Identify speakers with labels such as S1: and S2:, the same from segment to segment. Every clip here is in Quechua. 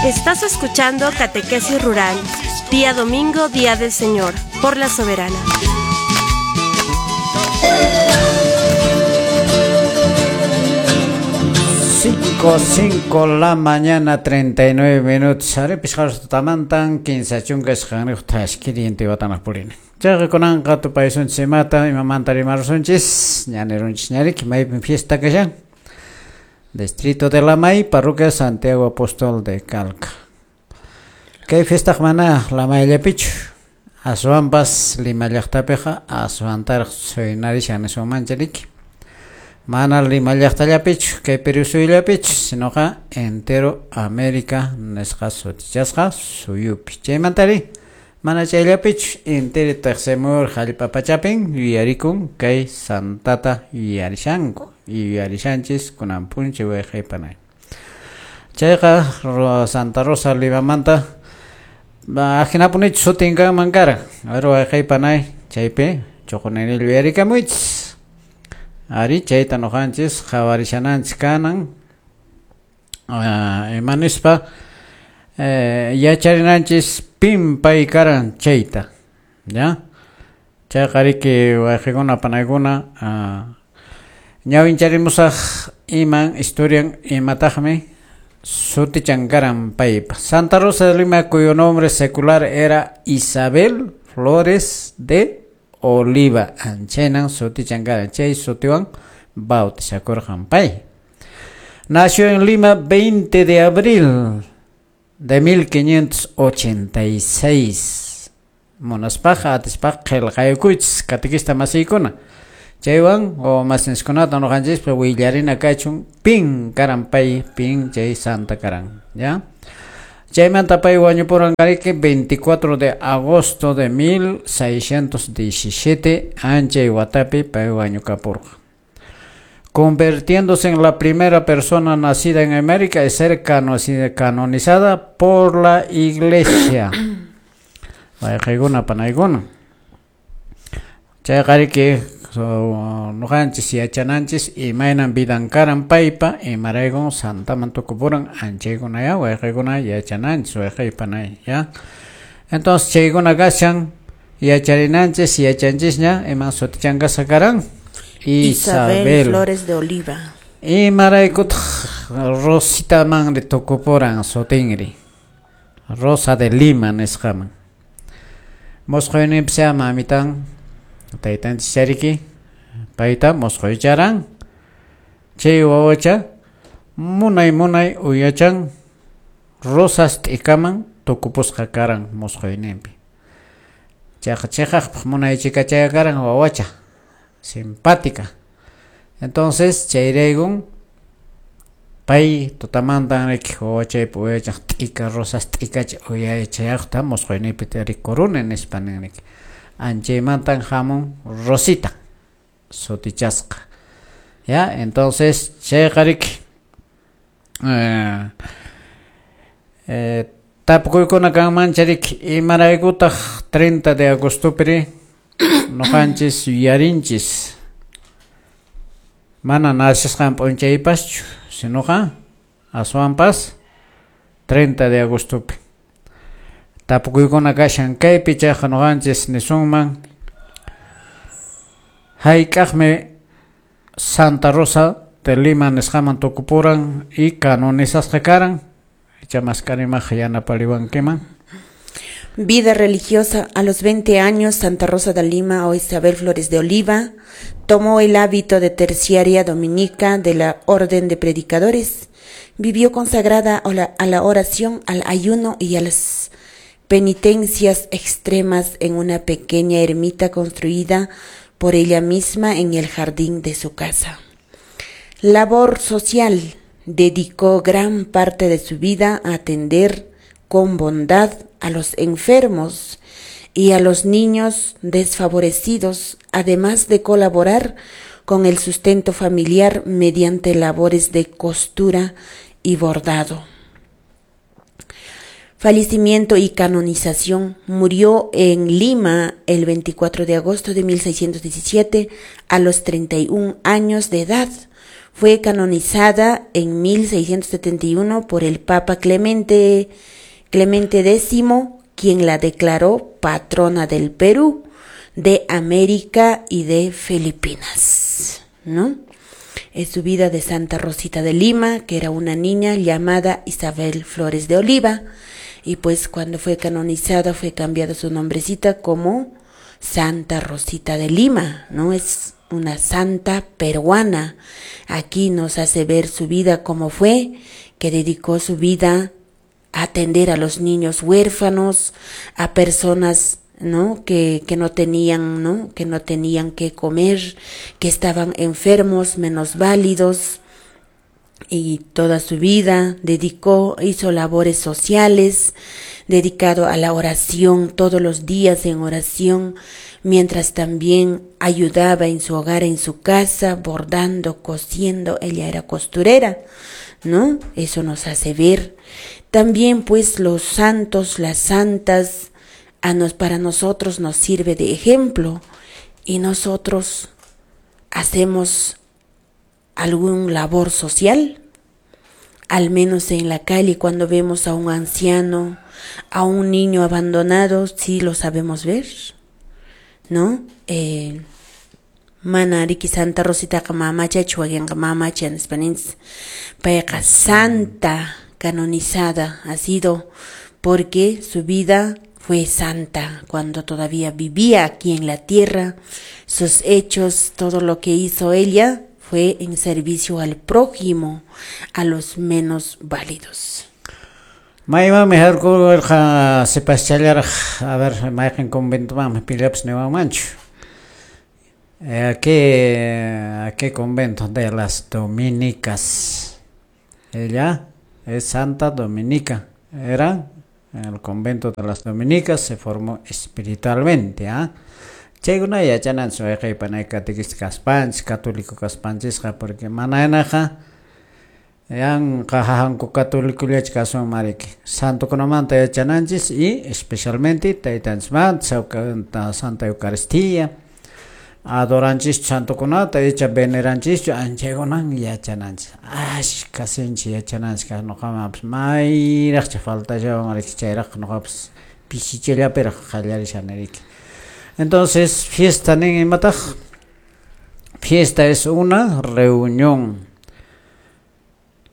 S1: Estás escuchando Catequesis Rural, día domingo, día del Señor, por la Soberana.
S2: 5 la mañana, 39 minutos. Aripis tamantan, 15 chunkas qanriq tashkiri intiwatanaq purina. Chayqa kunanqa tupaysunchis imata, imamanta rimarusunchis, ñanirunchis ñariki, maypin fiesta kashan. Distrito de Lamay, parroquia Santiago Apóstol de Calca. Kay fiestaq mana Lamayllapichu, aswanpas Lima llaqtapiqa aswantaraq suynarishan nisunmancha riki. Mana Lima llaqtallapichu, kay Perú suyullapichu, sinoqa entero América nisqa sutichasqa suyupi. Chaymantari mana chayllapichu, entero Teqsimur hallp'a pachapin yuyarikun kay santata yuyarishanku, yuyarishanchis kunan p'unchay wayqaypanay. Chayqa Santa Rosa Limamanta ajinapunichu sutin kanman karan. A ver wayqaypanay chaypi chuqunini yuyarikamuychis. Ari chayta nuqanchis qhawarishananchis kanan ima nispa yacharinanchis pin pay karan chayta, ya. Chayqa riki wayqikuna panaykuna ñawincharimusaq iman historian imataqmi sutichan karan paypa. Santa Rosa de Lima, cuyo nombre secular era Isabel Flores de Oliva, anchaynan sutichan karan, chay sutiwan bautizakurqan pay. Nació en Lima 20 de abril de 1586. Munaspaqa atispaqa qillqayukuychis catequista masiykuna. Chaywan o masinchiskunata nuqanchispa willarina kachun pin karan pay, pin chay santa karan, ya. Chaymanta pay wañupuran kariki 24 de agosto de 1617 anchay watapi pay wañukapurqa. Convirtiéndose en la primera persona nacida en América y ser canonizada por la Iglesia. Wayqaykuna panaykuna. Chayqa riki nuqanchis yachananchis imaynan vidan karan paypa, imaraykun santaman tukupuran anchaykuna ya wayqaykuna yachananchis wayqaypanay ya. Entonces chaykuna kashan yacharinanchis yachanchisña iman sutichankasqa karan
S3: Isabel Flores de Oliva.
S2: Imaraykutaq Rositamanri tukupuran sutinri Rosa de Lima nisqaman. Mosqoyninpis mamitan taytanchis chariki payta mosqoycharan chay wawacha munay munay uyachan rosas t'ikaman tukupusqa karan mosqoyninpi. Chayqa chiqaqpaq munay chikachaya karan wawacha simpática. Entonces chayraykun pay tutamantan riki wawachaypa uyachan t'ika rosas t'ikacha uyachayaqta mosqoyninpi rikuruni nispa nin riki. Anchaymantan hamun Rosita sutichasqa. Ya, entonces chayqa riki tapukuykuna kanmancha riki imaraykutaq 30 de agostopiri nuqanchis yuyarinchis mana nacesqan p'unchaypaschu sinoqa aswanpas 30 de agostopi. Tapukuykuna kashan kaypi chayqa nuqanchis nisunman hayk'aqmi Santa Rosa de Lima nisqaman tukupuran y canonizasqa karan. Icha maskarimaq yanapariwankiman.
S3: Vida religiosa. A los 20 años, Santa Rosa de Lima o Isabel Flores de Oliva tomó el hábito de terciaria dominica de la Orden de Predicadores. Vivió consagrada a la oración, al ayuno y a las penitencias extremas en una pequeña ermita construida por ella misma en el jardín de su casa. Labor social. Dedicó gran parte de su vida a atender con bondad a los enfermos y a los niños desfavorecidos, además de colaborar con el sustento familiar mediante labores de costura y bordado. Fallecimiento y canonización. Murió en Lima el 24 de agosto de 1617 a los 31 años de edad. Fue canonizada en 1671 por el Papa Clemente X, quien la declaró patrona del Perú, de América y de Filipinas, ¿no? Es su vida de Santa Rosita de Lima, que era una niña llamada Isabel Flores de Oliva, y pues cuando fue canonizada fue cambiado su nombrecita como Santa Rosita de Lima, ¿no? Es una santa peruana. Aquí nos hace ver su vida como fue, que dedicó su vida a atender a los niños huérfanos, a personas, ¿no? Que no tenían, ¿no? Que no tenían que comer, que estaban enfermos, menos válidos, y toda su vida dedicó, hizo labores sociales, dedicado a la oración, todos los días en oración, mientras también ayudaba en su hogar, en su casa, bordando, cosiendo, ella era costurera, ¿no? Eso nos hace ver. También pues los santos, las santas, para nosotros nos sirve de ejemplo, y nosotros hacemos algún labor social, al menos en la calle cuando vemos a un anciano, a un niño abandonado, sí lo sabemos ver, ¿no? Mana riki Santa Rositaqa mamachachu wakinqa mamacha nispa payqa santa canonizada ha sido porque su vida fue santa cuando todavía vivía aquí en la tierra. Sus hechos, todo lo que hizo ella fue en servicio al prójimo, a los menos válidos.
S2: Maymanmi harkurqa sipaschallaraq, a ver, mayqin conventomanmi pillapas niwanmanchu. ¿A qué convento? De las Dominicas. Ella es Santa Dominica. Era en el convento de las Dominicas, se formó espiritualmente, ¿ah? Chaykuna yachananchis wayqiypanay catequista kaspanchis, católico kaspanchisqa, porque manaynaqa yanqa hahanku católicollachu kasun mariki. Santokunamanta yachananchis y especialmente taytanchismanta, Santa Eucaristía, adoranchis santokunata, icha veneranchischu, anchaykunan yachananchis. Ashka sinchi yachananchis kaj nuqamanpas mayraqcha faltashawan mariki, chayraq nuqapas pisichallapiraq qallarishani riki. Entonces, fiesta nin imataq. Fiesta es una reunión.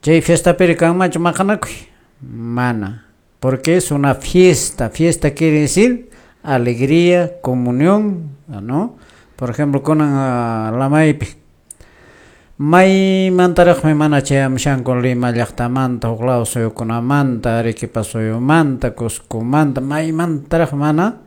S2: Chay fiesta piri kanmanchu maqanakuy? Mana. Porque es una fiesta. Fiesta quiere decir alegría, comunión, ¿no? Por ejemplo, kunan lamaypi. Maymantaraqmi mana chayamushanku Lima llaqtamanta, huk law suyukunamanta, Arequipa suyumanta, Cuscomanta, maymantaraq mana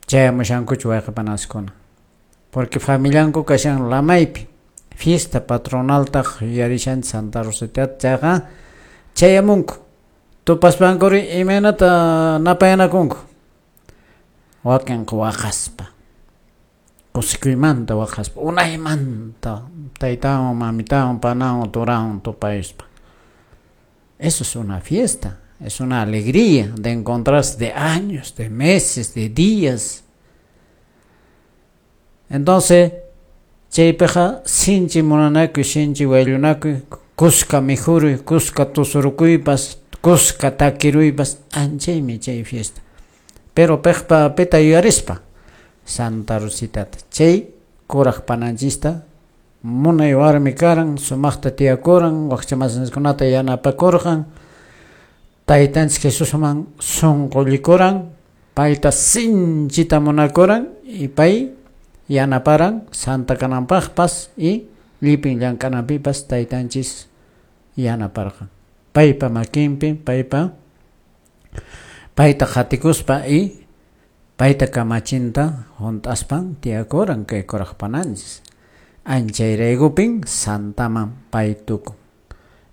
S2: chayamushankuchu wayqipanaskuna. Porque familianku kashan lamaypi. Fiesta patronaltaq yuyarishanchis Santa Rositata, chayqa chayamunku. Tupaspankuri imaynata napayanakunku. Wakinqa waqaspa, kusikuymanta waqaspa, unaymanta taytawan, mamitawan, panawan, turanwan tupayuspa. Eso es una fiesta, es una alegría de encontrarse de años, de meses, de días. Entonces, chaypiqa sinchi munanakuy, sinchi wayllunakuy, kuska mikhuruy, kuska tusurukuypas, kuska takiruypas, anchaymi chay fiesta. Pero piqpa pita yuyarispa Santa Rositata, chay kuraq pananchista munay warmi karan, sumaqta tiyakuran, wakchamasinkunata yanapakurqan, taytanchis Jesusman sunqullikuran, payta sinchita munakuran y pay yanaparan santa kananpaqpas y llipin llank'ananpipas taytanchis yanaparqan. Paypa makinpi, payta qatikuspa y payta kamachinta hunt'aspan tiyakuran kay kuraq pananchis. Anchayraykupin santaman pay tukun.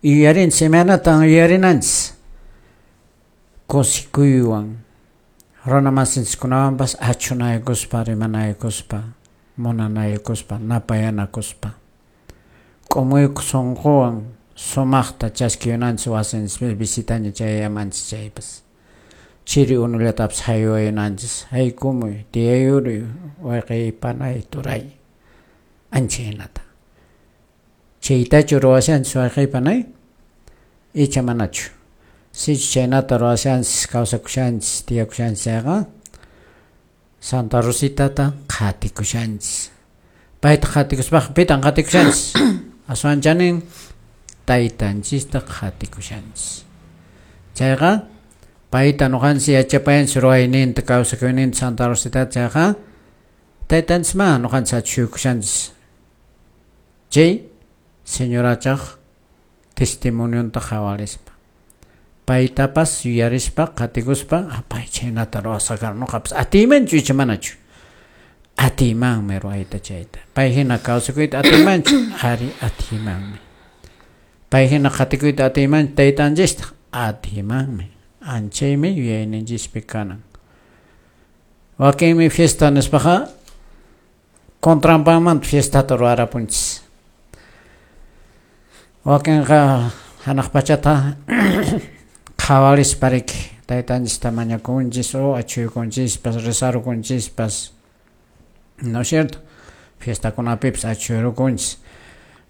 S2: Yuyarinchis, imaynatan yuyarinanchis? Kusikuywan, runa masinchiskunawanpas achunaykuspa, rimanaykuspa, munanaykuspa, napayanakuspa. K'umuyku sunquwan sumaqta chaskiyunanchis wasinchis visitaña chayamanchis chaypas. Chiri unullatapis haywayunanchis, haykumuy, tiyayuruy, wayqiy, panay, turay, anchaynata. Chaytachu ruwashanchis wayqeypanay? Icha manachu. Sichus chaynata ruwashanchis, kawsakushanchis, tiyakushanchis chayqa, Santa Rositata qhatikushanchis. Payta qhatikuspaqa pitan qhatikushanchis? Aswan chanin taytanchista qhatikushanchis. Chayqa payta nuqanchis yachapayanchis ruwayninta, kawsakuyninta Santa Rositata chayqa taytanchisman nuqanchis achhuykushanchis. Chay señorachaq testimonionta qhawarispa, paytapas yuyarispa qhatikuspa, pay chhaynata ruwasqa karan, nuqapas atiymanchu icha manachu? Atiymanmi ruwayta chayta. Pay hina kawsakuyta atiymanchu? Ari, atiymanmi. Pay hina qhatikuyta atiymanchu taytanchista? Atiymanmi. Anchaymi yuyayninchispi kanan. Wakinmi fiesta nispaqa contranpanmanta fiestata ruwarapunchis. Wakinqa hanaq pachata qhawarispa riki taytanchista mañakunchis o achhuykunchispas, rezarukunchispas, ¿no es cierto? Fiestakunapipas achhuyrukunchis.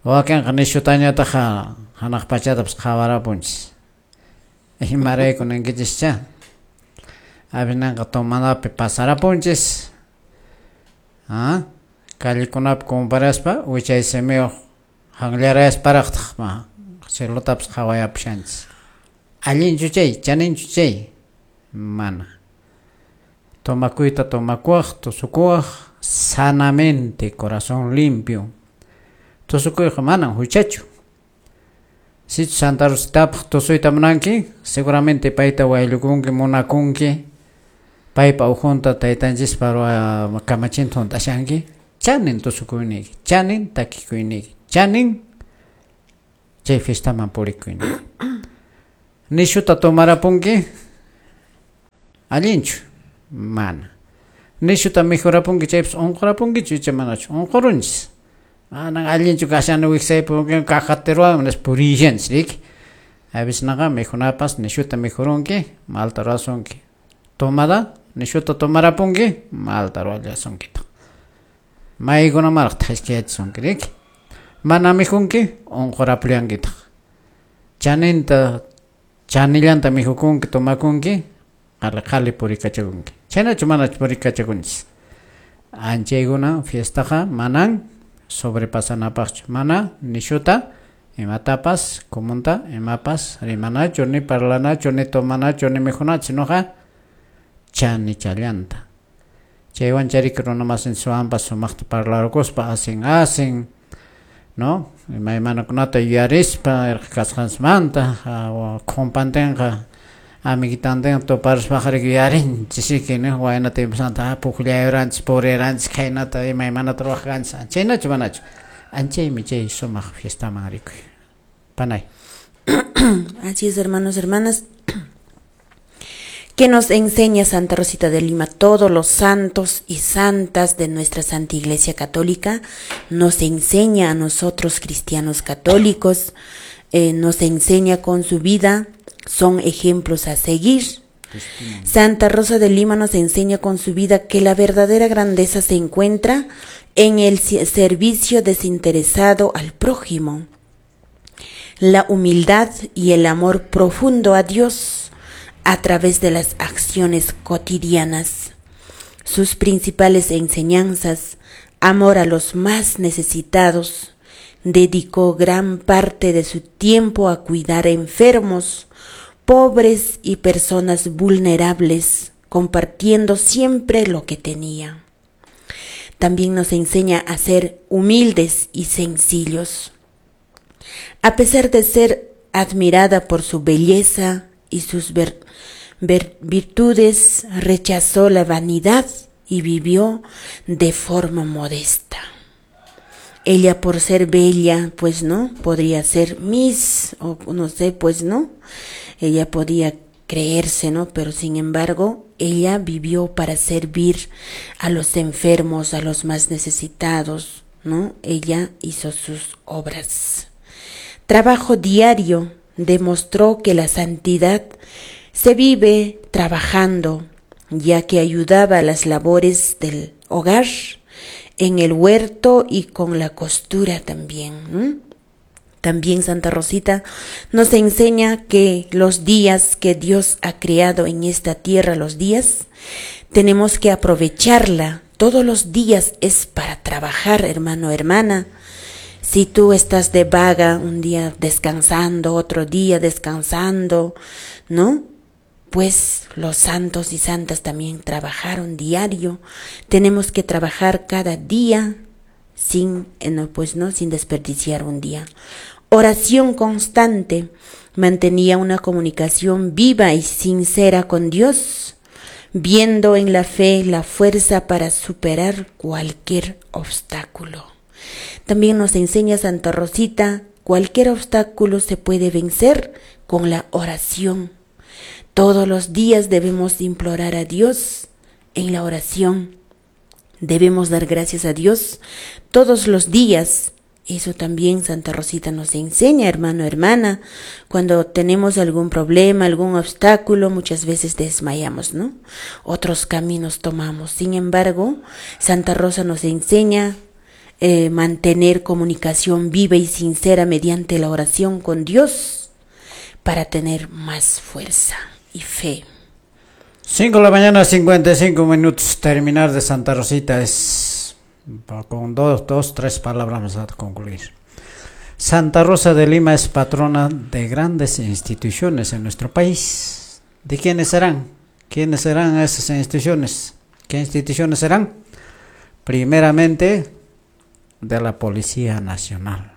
S2: Wakinqa nishutañataq hanaq pachatapas qhawarapunchis. Imarayku ninkichis-cha? Avinanqa tomanapi pasarapunchis. ¿Ah? Callekunapi comparaspa wichay simiyuq hanllarayasparaqtaq cielotapis qhawayapushanchis. Allinchu chay? Chaninchu chay? Mana. Tomakuyta tomakuwaq, tusukuwaq, sanamente, corazón limpio. Tusukuyqa manan huchachu. Sichus Santa Rositapaq tusuyta munanki, seguramente payta wayllukunki, munakunki, paypa ukhunta taytanchispa kamachinta hunt'ashanki, chanin tusukuyniyki, chanin takikuyniyki, chanin chay fiestaman purikuyniyki. Nishuta tomarapunki, allinchu? Mana. Nishuta mikhurapunki chaypas unqurapunkichu icha manachu? Unqurunchis. Manan allinchu kashani wiksaypi cajateruwan nispa purishanchis riki. Avisnaqa mikhunapas nishuta mikhurunki, malta ruwasunki. Tomada nishuta tomarapunki, malta ruwallasunkitaq. Maykunamaraq thashkiyachisunki riki. Mana mikhunki, unqurapullankitaq. Chaninta chanillanta mikhukunki, tomakunki, qhali qhali purikachakunki. Chhaynachu manachu purikachakunchis? Anchaykuna fiestaqa manan sobrepasanapaqchu, mana nishuta imatapas comunta imapas rimanachu, ni parlanachu, ni tomanachu, ni mikhunachu, sinoqa chanichallanta. Chaywan chariki runa masinchikwanpas sumaqta parlarukuspa asin asin, ¿no? Imaymanakunata yuyarispa irqi kasqanchismanta, khumpantinqa amiguitantin tuparuspaqa riki yuyarinchis riki, ¿no? Wayna tiemposmanta pukllayuranchis, puriranchis, khaynata imaymanata ruwaq kanchis. Chaynachu manachu? Anchaymi chay sumaq fiestaman rikuy. Panay.
S3: Así es, hermanos, hermanas. ¿Qué nos enseña Santa Rosita de Lima? Todos los santos y santas de nuestra Santa Iglesia Católica nos enseña a nosotros cristianos católicos, nos enseña con su vida, son ejemplos a seguir. Santa Rosa de Lima nos enseña con su vida que la verdadera grandeza se encuentra en el servicio desinteresado al prójimo, la humildad y el amor profundo a Dios a través de las acciones cotidianas. Sus principales enseñanzas: amor a los más necesitados, dedicó gran parte de su tiempo a cuidar enfermos, pobres y personas vulnerables, compartiendo siempre lo que tenía. También nos enseña a ser humildes y sencillos. A pesar de ser admirada por su belleza y sus virtudes, rechazó la vanidad y vivió de forma modesta. Ella, por ser bella, pues no, podría ser Miss, o no sé, pues no, ella podía creerse, ¿no? Pero sin embargo, ella vivió para servir a los enfermos, a los más necesitados, ¿no? Ella hizo sus obras. Trabajo diario demostró que la santidad se vive trabajando, ya que ayudaba a las labores del hogar, en el huerto y con la costura también, ¿no? También Santa Rosita nos enseña que los días que Dios ha creado en esta tierra, los días, tenemos que aprovecharla. Todos los días es para trabajar, hermano, hermana. Si tú estás de vaga, un día descansando, otro día descansando, ¿no? Pues los santos y santas también trabajaron diario. Tenemos que trabajar cada día sin, pues no, sin desperdiciar un día. Oración constante. Mantenía una comunicación viva y sincera con Dios, viendo en la fe la fuerza para superar cualquier obstáculo. También nos enseña Santa Rosita, cualquier obstáculo se puede vencer con la oración. Todos los días debemos implorar a Dios en la oración. Debemos dar gracias a Dios todos los días. Eso también Santa Rosita nos enseña, hermano, hermana. Cuando tenemos algún problema, algún obstáculo, muchas veces desmayamos, ¿no? Otros caminos tomamos. Sin embargo, Santa Rosa nos enseña mantener comunicación viva y sincera mediante la oración con Dios para tener más fuerza y fe.
S2: 5 de la mañana, 55 minutos. Terminar de Santa Rosita es con dos, tres palabras vamos a concluir. Santa Rosa de Lima es patrona de grandes instituciones en nuestro país. ¿De quiénes serán? ¿Quiénes serán esas instituciones? ¿Qué instituciones serán? Primeramente, de la Policía Nacional.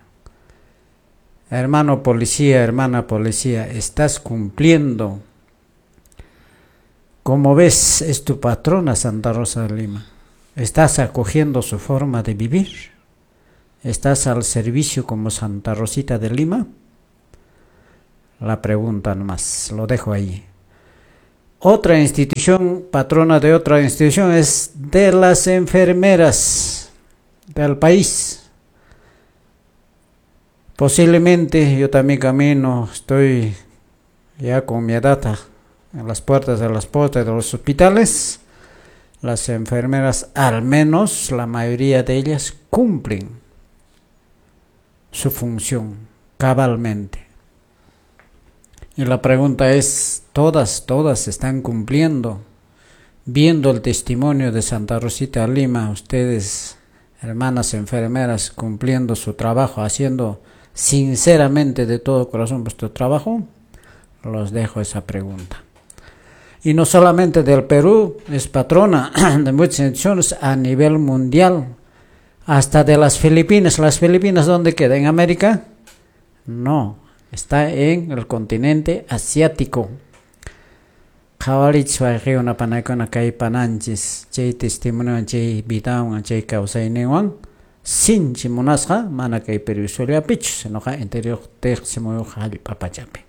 S2: Hermano policía, hermana policía, estás cumpliendo. Como ves, es tu patrona Santa Rosa de Lima. Estás acogiendo su forma de vivir. ¿Estás al servicio como Santa Rosita de Lima? La pregunta nomás, lo dejo ahí. Otra institución, patrona de otra institución, es de las enfermeras del país. Posiblemente yo también camino, estoy ya con mi edad en las puertas de las puertas de los hospitales. Las enfermeras, al menos la mayoría de ellas, cumplen su función cabalmente. Y la pregunta es, todas están cumpliendo. Viendo el testimonio de Santa Rosita Lima, ustedes, hermanas enfermeras, cumpliendo su trabajo, haciendo sinceramente de todo corazón vuestro trabajo, los dejo esa pregunta. Y no solamente del Perú, es patrona de muchas instituciones a nivel mundial, hasta de las Filipinas. ¿Las Filipinas dónde queda? ¿En América? No, está en el continente asiático. Qhawarichis wayqikuna panaykuna kay pananchis chay testimoniowan chay vidawan chay kawsayninwan sinchi munasqa mana kay Perú suyullapichu sinoqa interior tiqsimuyuq hallp'a pachapi.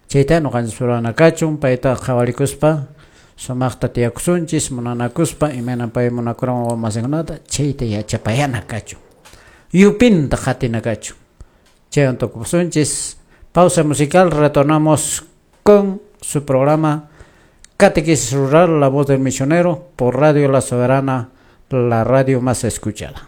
S2: Chayta ñuqanchis rurana kachun payta qhawarikuspa sumaqta tiyakusunchis munanakuspa imayna pay munakuran wawa masinkunata chayta yachapayana kachun yupinta qatina kachun. Chaywan tukusunchis. Pausa musical, retornamos con su programa Catequesis Rural, la voz del misionero, por Radio La Soberana, la radio más escuchada.